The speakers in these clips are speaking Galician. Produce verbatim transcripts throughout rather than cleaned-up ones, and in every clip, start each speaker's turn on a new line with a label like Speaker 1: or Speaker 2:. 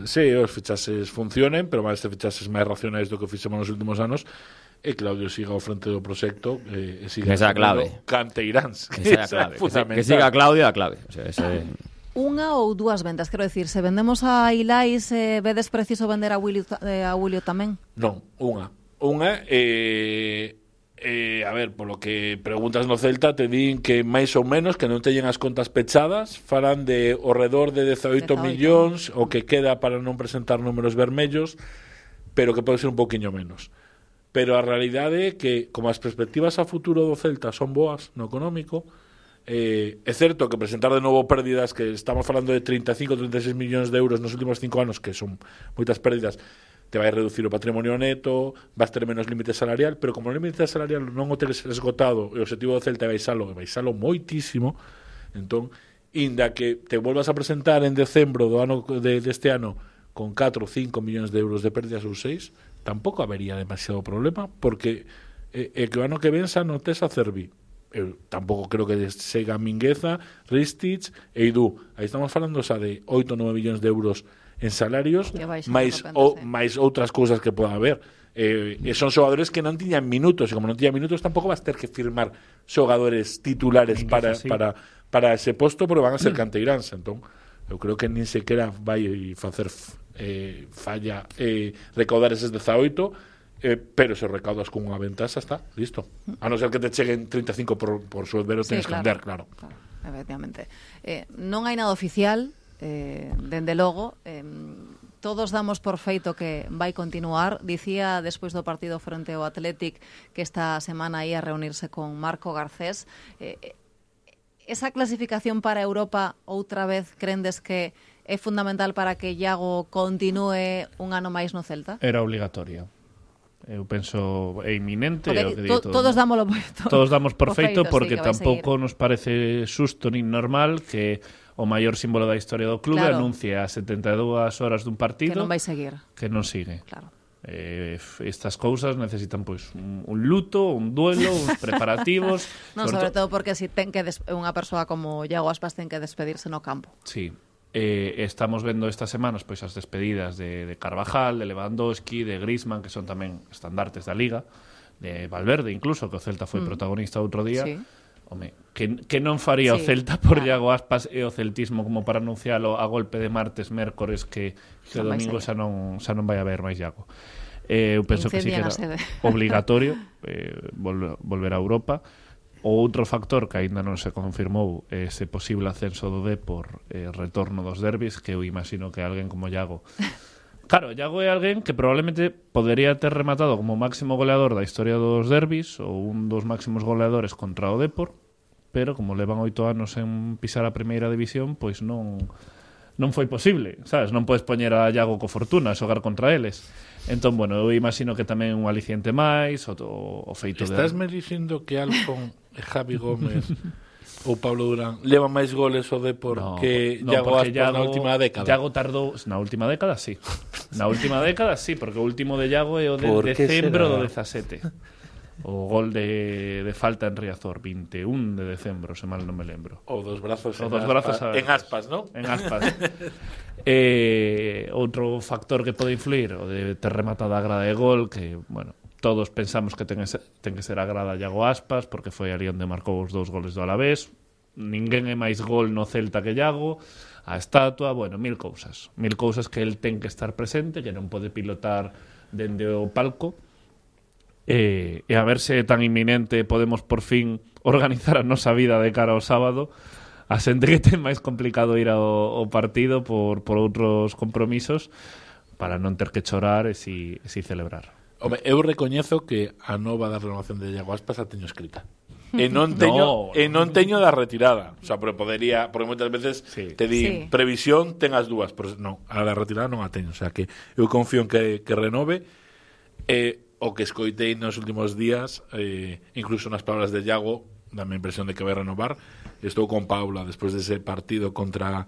Speaker 1: Sí, os fichases funcionen, pero máis de fichases máis racionais do que fixemos nos últimos anos, e Claudio siga ao frente do proxecto, e siga
Speaker 2: esa clave.
Speaker 1: Canteiráns,
Speaker 2: que esa clave, que, que siga Claudio a clave. O sea, ese...
Speaker 3: Unha ou dúas vendas, quero decir, se vendemos a Ilais, eh, vedes preciso vender a Willy, eh, a Willy tamén?
Speaker 1: Non, unha. Unha, eh, eh, a ver, polo que preguntas no Celta, te din que máis ou menos, que non teñen as contas pechadas, falan de ao redor de dezaoito millóns, o que queda para non presentar números vermellos, pero que pode ser un pouquiño menos. Pero a realidade é que, como as perspectivas a futuro do Celta son boas no económico, eh, é certo que presentar de novo pérdidas, que estamos falando de trinta e cinco, trinta e seis millóns de euros nos últimos cinco anos, que son moitas pérdidas, te vai reducir o patrimonio neto, vas ter menos límite salarial, pero como o límite salarial non o teres esgotado, e o objetivo do Celta é baixalo, e baixalo moitísimo, entón, inda que te volvas a presentar en decembro do ano de, deste ano con catro ou cinco millóns de euros de pérdidas ou seis, tampouco habería demasiado problema, porque eh, eh, que o ano que ven xa non tes a Cervi. Eu tampouco creo que sega Mingueza, Ristich e Idú. Aí estamos falando xa de oito ou nove millóns de euros en salarios, máis, o, máis outras cousas que poda haber. Eh, e son xogadores que non tiñan minutos, e como non tiñan minutos tampouco vas ter que firmar xogadores titulares para, sí. para, para ese posto, porque van a ser canteiráns. Entón, eu creo que nin sequera vai facer eh, falla eh, recaudar eses dezaoito, eh, pero se recaudas con unha venta xa está, listo. A non ser que te cheguen trinta e cinco por, por suelvero, sí, tens claro, que vender, claro.
Speaker 3: claro. Efectivamente. Eh, non hai nada oficial, Eh, dende logo, eh, todos damos por feito que vai continuar. Dicía despois do partido frente ao Athletic que esta semana ia reunirse con Marco Garcés. Eh, esa clasificación para Europa outra vez crendes que é fundamental para que Iago continúe un ano máis no Celta?
Speaker 4: Era obligatorio. Eu penso é inminente,
Speaker 3: é
Speaker 4: o que
Speaker 3: to,
Speaker 4: todo,
Speaker 3: todos dámolo
Speaker 4: to, todos damos por feito,
Speaker 3: feito
Speaker 4: porque
Speaker 3: sí,
Speaker 4: tampouco nos parece xusto nin normal que o maior símbolo da historia do clube claro. anuncie a setenta e dúas horas dun partido
Speaker 3: que non vai seguir.
Speaker 4: Que non sigue.
Speaker 3: Claro.
Speaker 4: Eh, estas cousas necesitan pois un, un luto, un duelo, uns preparativos.
Speaker 3: Non, sobre, sobre todo porque si ten que des- unha persoa como Iago Aspas ten que despedirse no campo.
Speaker 4: Sí. Eh, estamos vendo estas semanas pois as despedidas de, de Carvajal, de Lewandowski, de Griezmann, que son tamén estandartes da Liga, de Valverde incluso, que o Celta foi mm. protagonista outro día.
Speaker 3: Sí.
Speaker 4: Home, que, que non faría sí, o Celta por claro. Iago Aspas e o celtismo como para anuncialo a golpe de martes, mércores, que, que o domingo xa non, xa non vai haber máis Iago. Eh, eu penso
Speaker 3: Incendian
Speaker 4: que sí que era obligatorio eh, volver, volver a Europa. O outro factor que aínda non se confirmou é ese posible ascenso do Depor, eh, retorno dos derbis, que eu imagino que alguén como Iago... Claro, Iago é alguén que probablemente podería ter rematado como máximo goleador da historia dos derbis ou un dos máximos goleadores contra o Depor, pero como levan oito anos en pisar a primeira división, pois non non foi posible, sabes? Non podes poñer a Iago co Fortuna a xogar contra eles. Entón, bueno, eu imagino que tamén un aliciente máis, o, o feito
Speaker 1: Estás
Speaker 4: de...
Speaker 1: me dicindo que Alfon e Javi Gómez ou Pablo Durán leva máis goles ao Depor no, que
Speaker 4: no,
Speaker 1: Iago Aspas Iago, na última década?
Speaker 4: Iago tardou... Na última década, sí. Na última década, sí, porque o último de Iago é o de decembro do dezasete. O gol de, de falta en Riazor, vinte e un de decembro, se mal non me lembro.
Speaker 1: O dos brazos,
Speaker 4: o
Speaker 1: en,
Speaker 4: dos
Speaker 1: aspas,
Speaker 4: brazos a...
Speaker 1: en aspas, ¿no?
Speaker 4: En aspas. eh, outro factor que pode influir, o de ter rematado a grada de gol, que, bueno, todos pensamos que ten, ese, ten que ser a grada Iago Aspas, porque foi ali onde marcou os dous goles do Alavés. Ninguén é máis gol no Celta que Iago, a estatua, bueno, mil cousas. Mil cousas que el ten que estar presente, que non pode pilotar dende o palco. E, e a ver se tan inminente podemos por fin organizar a nosa vida de cara ao sábado. A xente que ten máis complicado ir ao, ao partido por, por outros compromisos, para non ter que chorar e si, e si celebrar.
Speaker 1: Home, eu recoñezo que a nova da renovación de Iago Aspas a teño escrita. E non teño, no, e non teño da retirada. O sea, pero podería, porque moitas veces sí. te di sí. previsión, ten as dúas, pero non, a da retirada non a teño. O sea, que eu confío en que, que renove. E o que escoitei nos últimos días, eh, incluso nas palabras de Iago, dame a impresión de que vai renovar. Estou con Paula despois dese partido contra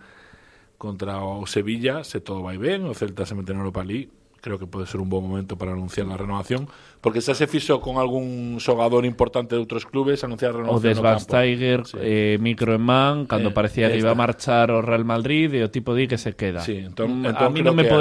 Speaker 1: contra o Sevilla, se todo vai ben, o Celta se mete na Europa League, creo que pode ser un bom momento para anunciar a renovación, porque xa se fixo con algún xogador importante de outros clubes anunciar a renovación
Speaker 4: o de Schweinsteiger, sí. eh, micro en man, cando eh, parecía que esta. iba a marchar o Real Madrid e o tipo di que se queda.
Speaker 1: Sí, entón,
Speaker 4: mm,
Speaker 1: entón
Speaker 4: a mí non me pode